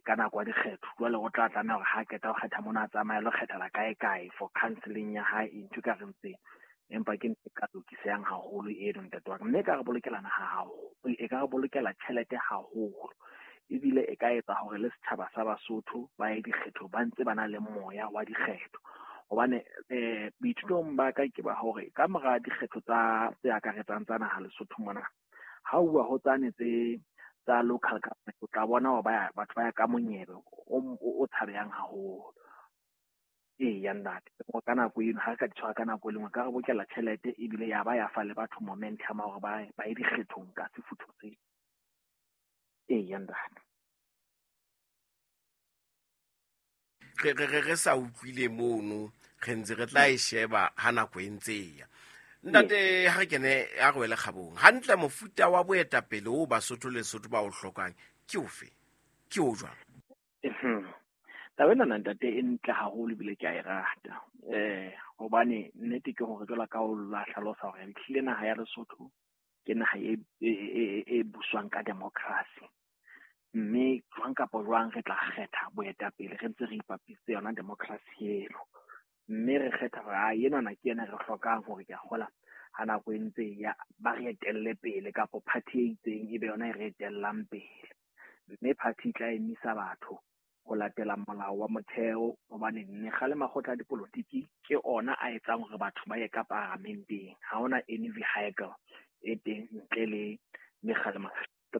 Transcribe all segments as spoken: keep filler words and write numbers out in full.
ka nako ya dikgetho. Jwale o tla tlameha hore ha qeta ho kgetha mona a tsamaye a lo kgethela kae kae for counselling ya hae, ntho e ka reng tse. Empa ke ntho e ka lokisehang haholo eno ntate wa ka, mme e ka re bolokela naha haholo, e ka re bolokela tjhelete haholo. Ebile e ka etsa hore le setjhaba sa Basotho ba ye dikgetho ba ntse ba na le moya wa dikgetho. Hobane eh boithutong ba ka ke ba hore ka mora dikgetho tsa tse akaretsang tsa naha Lesotho mona, ha o bua ho tsane tse tsa local government, o tla bona hore ba batho ba ya ka monyebe o o tshabehang haholo. Eya ntate, ka nako eno ha re ka di tshwara ka nako e le nngwe, ka re bokella tjhelete ebile ya ba ya fa le batho momentum ya hore ba ba ye dikgethong ka sefutho seo. Eya ntate. Re re re sa utlwile mono, re ntse re tla e sheba ha nako e ntse e ya. Ntate, ha re kene a re wele kgabong. Hantle mofuta wa boetapele o Basotho le Lesotho ba o hlokang ke ofe? Ke o jwang? Taba ena ntate e ntle haholo ebile ke a e rata. Eh hobane nnete ke hore jwalo ka o la hlalosa hore ehlile naha ya Lesotho ke naha e e e buswang ka democracy. Mme jwang kapa jwang re tla kgetha boetapele re ntse re ipapisitse yona democracy eno. Mme re kgetha hore a enwana ke yena re hlokang hore ke a kgola ha nako e ntse ya ba re etelle pele kapa party e itseng ebe yona e re etellang pele. Mme party e tla emisa batho ho latela molao wa motheo, hobane mekga le makgotla a dipolotiki ke ona a etsang hore batho ba ye ka paramenteng. Ha hona any vehicle e teng ntle le mekga le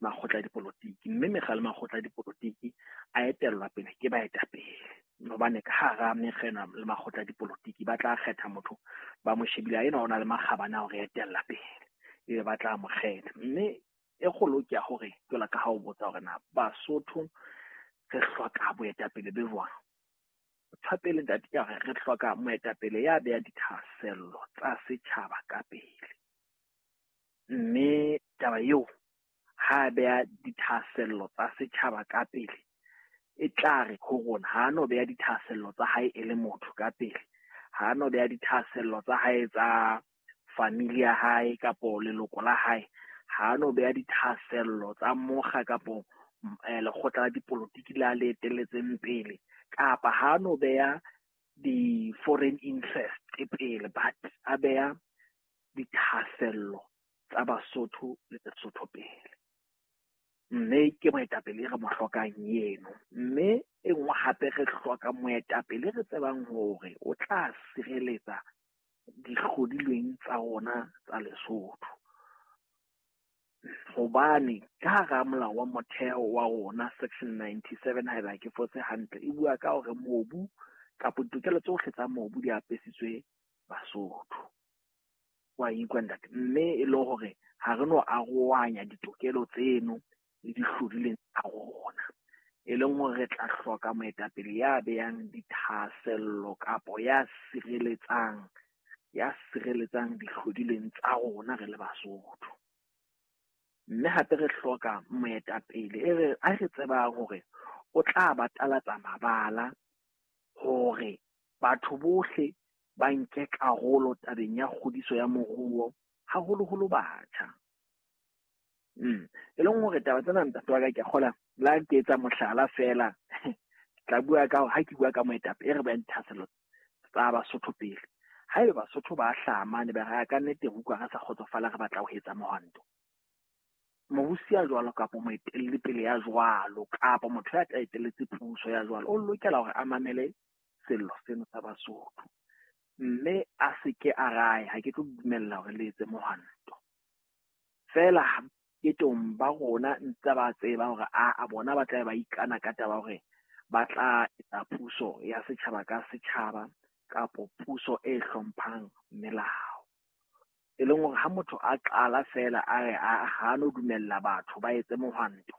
makgotla a dipolotiki. Mme mekga le makgotla a dipolotiki a etellwa pele ke baetapele, hobane ka hara mekga ena le makgotla a dipolotiki ba tla kgetha motho ba mo shebile a ena o na le makgabane a hore etella pele, ebe ba tla mo kgetha. Mme e kgolo ke ya hore jwalo ka ha o botsa hore na Basotho re hloka boetapele be jwang. Ntho ya pele ntate ke hore re hloka moetapele ya beha dithahasello tsa setjhaba ka pele. Mme taba eo ha beha dithahasello tsa setjhaba ka pele, e tla re ho rona ha no beha dithahasello tsa hae e le motho ka pele, ha no beha dithahasello tsa hae tsa family ya hae kapo leloko la hae, ha no beha dithahasello tsa mokga kapo lekgotla la dipolotiki la le etelletseng pele, kapa ha no beha di-foreign interest pele, but a beha dithahasello tsa Basotho le Lesotho pele. Mme ke moetapele re mo hlokang eno. Mme e nngwe hape re hloka moetapele re tsebang hore o tla sireletsa dihlodilweng tsa rona tsa Lesotho. Hobane ka hara molao wa motheo wa rona section ninety-seven haeba ke fotse hantle, e bua ka hore mobu kapa ditokelo tsohle tsa mobu di apesitswe Basotho. Wa ikwa ntate, mme e le hore ha re no arohanya ditokelo tseno le dihlodileng tsa rona, e leng hore re tla hloka moetapele ya behang dithahasello kapo ya sireletsang ya sireletsang dihlodileng tsa rona re le Basotho. Mme hape re hloka moetapele e re a re tsebang hore o tla batalatsa mabala hore batho bohle ba nke karolo tabeng ya kgodiso ya moruo, haholoholo batjha. Mm. E leng hore taba tsena ntate wa ka ke a kgola la ke etsa mohlala feela, tla bua ka hore ha ke bua ka moetapele e re behang dithahasello tsa Basotho pele. Haeba Basotho ba hlaha mane ba re ka nnete re utlwa re sa kgotsofala re batla ho etsa mohwanto, mobusi ya jwalo kapa moetelli pele ya jwalo kapa motho ya tla etelletse puso ya jwalo o lokela hore a mamele sello seno sa Basotho, mme a se ke a rae ha ke tlo dumella hore le etse mohwanto. Feela ketong ba rona ntse ba tseba hore a a bona ba tla ba ikana ka taba hore ba tla etsa puso ya setjhaba ka setjhaba kapo puso e hlomphang melao. E leng hore ha motho a qala feela a re a ha no dumella batho ba etse mohwanto,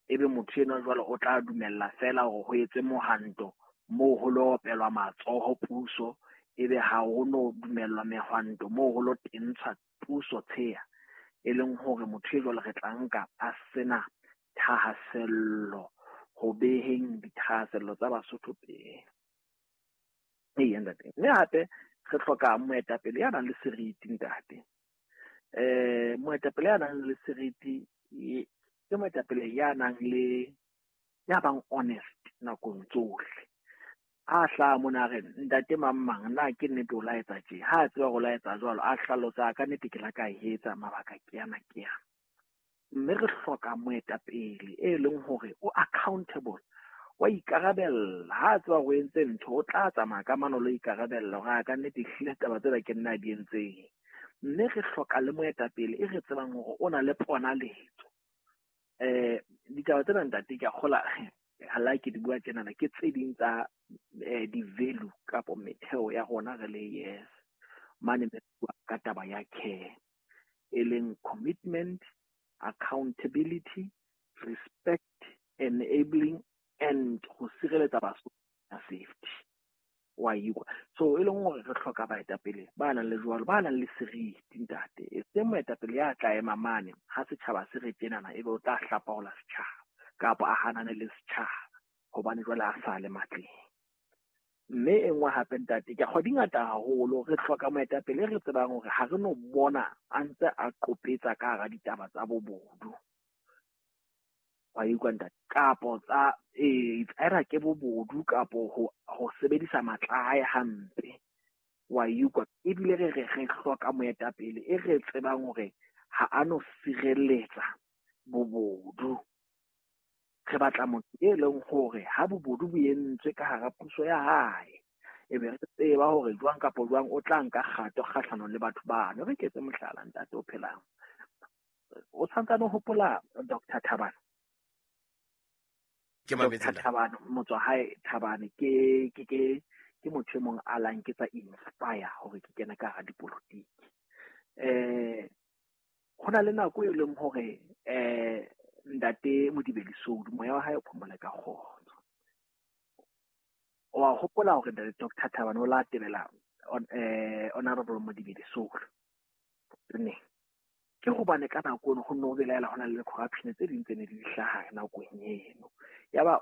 ebe motho enwa jwale o tla dumella feela hore ho etse mohwanto moo ho lo opelwa matsoho puso, ebe ha ho no dumellwa mehwanto moo ho lo tentshwa puso tsheya. E leng hore motho e jwale re tla nka a sena thahasello ho beheng dithahasello tsa Basotho pele. Eya ntate. Mme hape re hloka moetapele ya nang le seriti ntate. Eh moetapele ya nang le seriti ke moetapele ya nang le ya bang honest nakong tsohle. A hlaha mona a re ntate mang mang na ke nnete o la etsa tje, ha a tseba hore o la etsa jwalo, a hlalosa ka nnete ke la ka e etsa mabaka ke ana ke ana. Mme re hloka moetapele e leng hore o accountable, wa ikarabella. Ha a tseba hore o entse ntho, o tla tsamaya ka mano lo ikarabella hore a ka nnete ehlile taba tsena ke nna di entseng. Mme re hloka le moetapele e re tsebang hore o na le ponaletso. Eh ditaba tsena ntate ke a kgola ha la ke di bua tjenana ke tse ding tsa eh, di-value kapo metheo ya rona re le yes mane re bua ka taba ya care, e leng commitment, accountability, respect, enabling and ho sireletsa Basotho safety. Wa ikwa. So e leng hore re hloka baetapele ba nang le jwalo, ba nang le seriti ntate. E seng moetapele ya tla ema mane ha setjhaba se re tjenana ebe o tla hlapaola setjhaba kapa a hanane le setjhaba hobane jwale a sa le matleng. Mme e nngwe hape ntate, ke kgwa di ngata haholo. Re hloka moetapele re tsebang hore ha re no bona a ntse a qopetsa ka hara ditaba tsa bobodu. Wa utlwa ntate, kapo tsa eh either ke bobodu kapo ho ho sebedisa matla a hae hampe. Wa utlwa, ebile re re re hloka moetapele e re tsebang hore ha a no sireletsa bobodu. Re batla motho e leng hore ha bobodu bo entswe ka hara puso ya hae, ebe re tseba hore jwang kapa jwang o tla nka kgato kgahlanong le batho bano. Re ketse mohlala ntate o phelang. O santsane o hopola Doctor Thabane? Ke mametse Doctor Thabane, motswa hae Thabane ke ke ke ke motho e mong a lang ke tsa inspire hore ke kene ka hara dipolotiki. Eh ho na le nako e leng hore eh ntate Modibedi Soudi moya wa hae o phomole ka kgotso. Wa hopola hore ntate Doctor Thabane o la tebela on eh Honorable Modibedi Soudi. Ne ke hobane ka nako eno ho no belaela hona le corruption tse ding tse ne di hlaha nakong eno. Yaba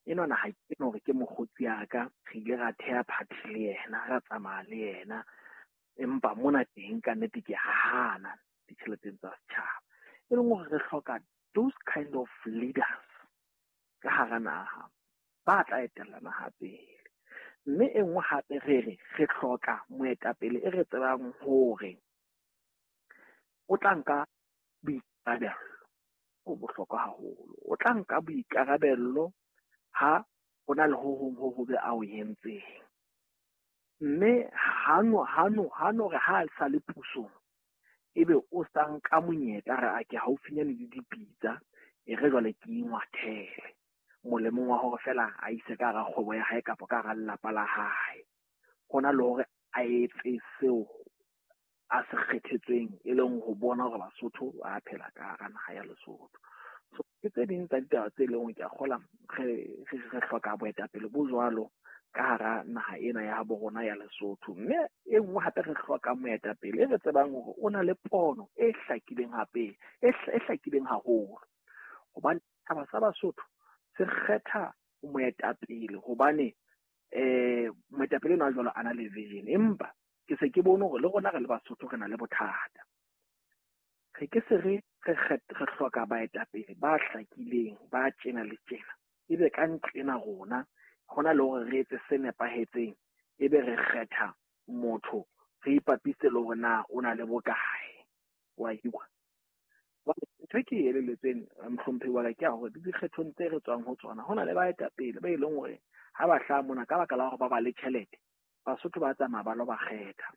enwana ha ke no hore ke mokgotsi ya ka, re ile ra theha party le yena, ra tsamaya le yena, empa mona teng ka nnete ke hana ditjheleteng tsa setjhaba. E leng hore re hloka those kind of leaders ka hara naha ba tla etella naha pele. Mme e nngwe hape re re re hloka moetapele e re tsebang hore o tla nka boikarabello. Ho bohlokwa haholo. O tla nka boikarabello ha o na le ho hong ho hobe a o entseng. Mme ha no ha no ha no re ha a sa le pusong ebe o sa nka monyetla re a ke haufinyane le dipitsa e re jwale ke ingwathele molemong wa hore fela a ise ka hara kgwebo ya hae kapa ka hara lelapa la hae. Hona le hore a etse seo a se kgethetsweng e leng ho bona hore Basotho ba phela ka hara naha ya Lesotho. So ke tse ding tsa ditaba tse leng hore ke a kgola re re re hloka boetapele bo jwalo ka hara naha ena ya habo rona ya Lesotho. Mme e nngwe hape re hloka moetapele e re tsebang hore o na le pono e hlakileng hape e hlakileng haholo. Hobane setjhaba sa Basotho se kgetha moetapele hobane eh moetapele enwa jwalo a na le vision, empa ke se ke bone hore le rona re le Basotho re na le bothata. Re ke se re re re hloka baetapele ba hlakileng ba tjena le tjena, ebe ka nqena rona hona le hore re etse se nepahetseng, ebe re kgetha motho re ipapise le hore na o na le bokae. Wa utlwa? Ntho e ke e elelletsweng mohlomphehi wa ka ke ya hore dikgethong tse re tswang ho tsona ho na le baetapele ba e leng hore ha ba hlaha mona ka baka la hore ba ba le tjhelete, Basotho ba tsamaya ba lo ba kgetha.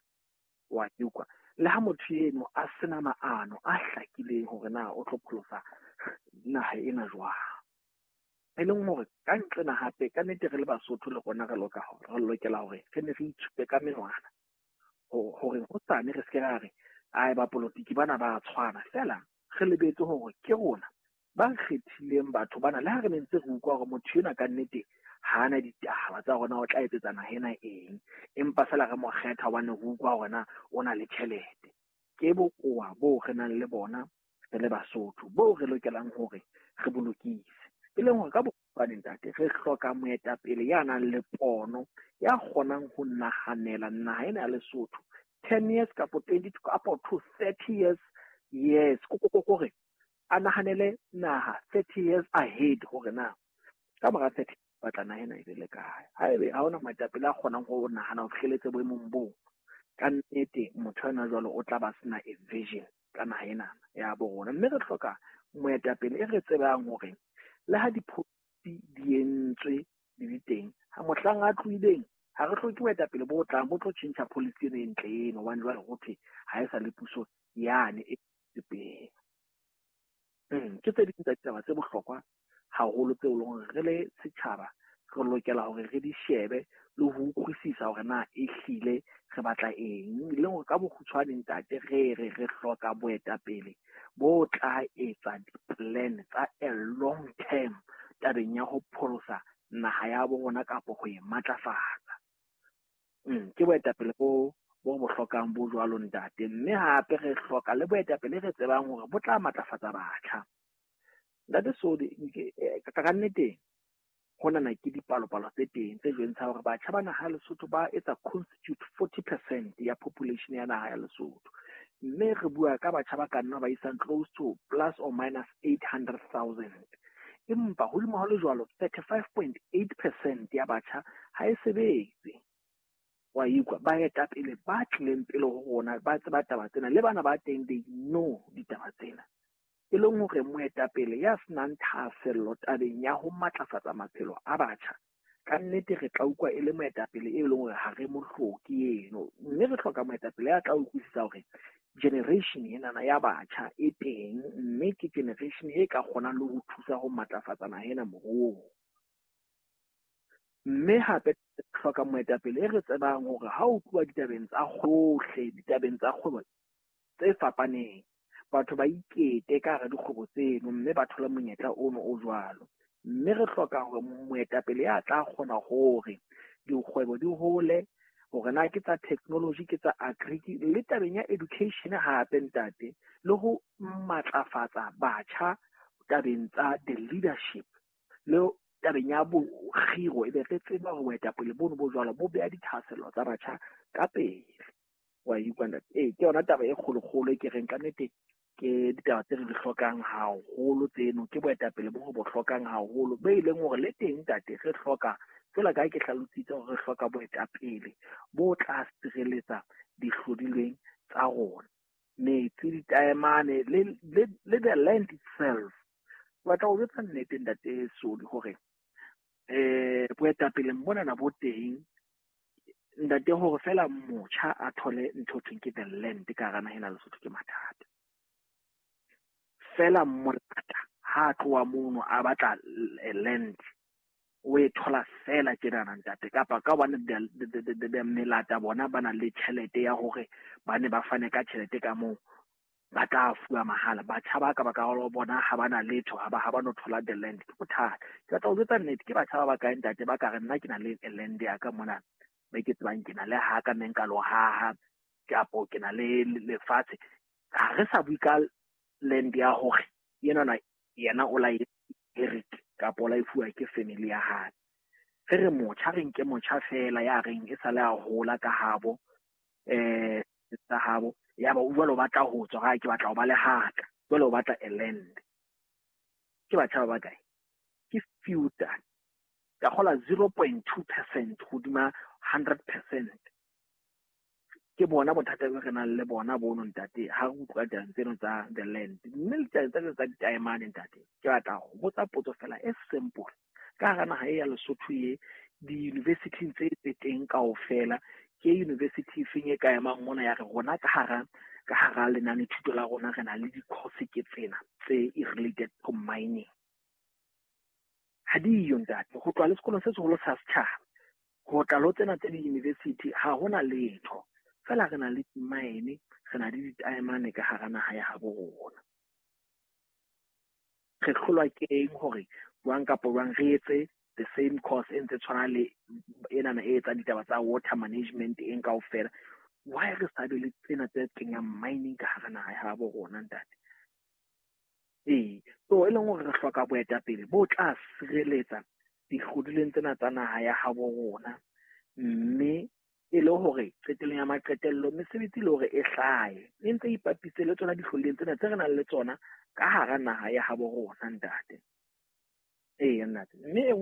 Wa utlwa? Le ha motho eno a sena maano a hlakileng hore na o tlo pholosa naha ena jwang. E leng hore ka nqena hape ka nnete re le Basotho le rona re loka re lokela hore re ne re itshupe ka menwana hore hosane re se ke ra re ai ba polotiki bana ba tshwana fela, re lebetse hore ke rona ba kgethileng batho bana. Le ha re ne ntse re utlwa hore motho enwa ka nnete ha ana ditaba tsa rona o tla etsetsa naha ena eng, empa fela re mo kgetha hobane re utlwa hore na o na le tjhelete. Ke bokowa boo re nang le bona re le Basotho boo re lokelang hore re bo lokise. E leng hore ka bokgutshwane ntate re hloka moetapele ya nang le pono, ya kgonang ho nahanela naha ena ya Lesotho ten years kapo twenty kapo to thirty years. Yes, kore a nahanele naha thirty years ahead hore na Ka mora thirty batla naha ena e be le kae? Haebe ha hona moetapele a kgonang ho nahana ho fihlelletse boemong boo, ka nnete motho ena jwalo o tla ba sena a vision ka naha ena ya bo rona. Mme re hloka moetapele e re tsebang hore le ha di-policy di entswe di le teng, ha mohlang a tlohileng ha re hloke boetapele bo tlang bo tlo tjhentjha policy eno e ntle eno, hobane jwale ho thwe ha e sa le puso yane e pele. Ke tse ding tsa ditaba tse bohlokwa haholo tseo e leng hore re le setjhaba re lokela hore re di shebe le ho utlwisisa hore na ehlile re batla eng. Le hore ka bokgutshwane ntate, re re re hloka boetapele bo tla etsa di-plan tsa a long term tabeng ya ho pholosa naha ya bo rona kapo ho e matlafatsa. Ke boetapele bo bo bo hlokang bo jwalo ntate. Mme hape re hloka le boetapele re tsebang hore bo tla matlafatsa batjha. Ntate Sodi, ka nnete honana ke dipalopalo tse teng tse jwentshang hore batjha ba naha ya Lesotho ba etsa constitute forty percent ya population ya naha ya Lesotho. Mme re bua ka batjha ba ka nna ba isang close to plus or minus eight hundred thousand. Empa hodimo ho le jwalo, thirty-five point eight percent ya batjha ha e sebetse. Wa ikwa baetapele ba tlileng pele ho rona ba tseba taba tsena, le bana ba teng they know ditaba tsena. E leng hore moetapele ya senang thahasello tabeng ya ho matlafatsa maphelo a batjha, ka nnete re tla utlwa e le moetapele e leng hore ha re mo hloke eno. Mme re hloka moetapele ya tla utlwisisa hore generation enana ya batjha e teng, mme ke generation e ka kgonang le ho thusa ho matlafatsa naha ena moruong. Mme hape re hloka moetapele e re tsebang hore ha o tluwa ditabeng tsa kgohle, ditabeng tsa kgwebo tse fapaneng, batho ba ikete ka hara dikgwebo tseno mme ba thole monyetla ono o jwalo. Mme re hloka hore moetapele ya tla kgona hore dikgwebo di hole, hore na ke tsa technology, ke tsa agri, le tabeng ya education hape ntate, le ho matlafatsa batjha tabeng tsa the leadership, le tabeng ya bokgiro, ebe re tseba hore boetapele bono bo jwalo bo beha dithahasello tsa batjha ka pele. Wa utlwa ntate? Ee, ke yona taba e kgolokgolo e ke reng ka nnete ke ditaba tse re di hlokang haholo tseno, ke boetapele bo re bo hlokang haholo, be e leng hore le teng ntate re hloka, jwalo ka ha ke hlalositse hore re hloka boetapele bo tla sireletsa dihlodilweng tsa rona, metsi, ditaemane, le le le the land itself. Ke batla ho jwetsa nnete ntate Sodi hore eh boetapele monana bo teng ntate, hore fela motjha a thole ntho thweng ke the land ka hara naha ena Lesotho ke mathata. Fela molata ha tloha mono a batla land, o e thola fela tjenana ntate, kapa ka hobane melata bona ba na le tjhelete ya hore ba ne ba fane ka tjhelete ka moo, ba tla fuwa mahala. Batjha ba ka ba ka bona ha ba na letho, ha ba ha ba no thola the land, ke bothata. Ke batla ho jwetsa nnete, ke batjha ba bakae ntate ba ka re nna ke na le land ya ka mona, be ke tsebang ke na le haka mme nka lo haha, kapo ke na le lefatshe. Ha re sa bue ka land ya hore yenana yena o la inherit kapo o la e fuwa ke family ya hae. Re re motjha, re nke motjha fela ya reng e sale a hola ka habo, eh tsa habo, ya ba o jwalo batla ho tswa, ha ke batla ho ba le haka, jwale o batla a land. Ke batjha ba bakae? Ke few tane. Ka kgola zero point two percent hodima hundred percent. Ke bona bothata bo re nang le bona bono ntate, ha re utlwa ditaba tseno tsa the land. Mme le ditaba tseno tsa ditaemane ntate, ke batla ho botsa potso fela e simple. Ka hara naha e ya Lesotho e, di-university tse tse teng kaofela, ke university efeng e ka emang mona ya re rona ka hara, ka hara lenane thuto la rona re na le di-course ke tsena tse related to mining. Ha diyo ntate, ho tloha le sekolong se seholo sa setjhaba, ho tla lo tsena tse di-university ha hona letho. Fela re na le mine, re na le ditaemane ka hara naha ya habo rona. Re hlolwa ke eng hore jwang kapa jwang re etse the same course e ntse tshwana le enana e etsang ditaba tsa water management eng kaofela? Why re sa be le tsena tse kenyang mining ka hara naha ya habo rona ntate? Ee, so e leng hore re hloka boetapele bo tla sireletsa dihlodilweng tsena tsa naha ya habo rona, mme e le hore qetellong ya maqetello mesebetsi le hore e hlahe e ntse ipapise le tsona dihlodilweng tsena tse re nang le tsona ka hara naha ya habo rona ntate. Ee ntate, mme e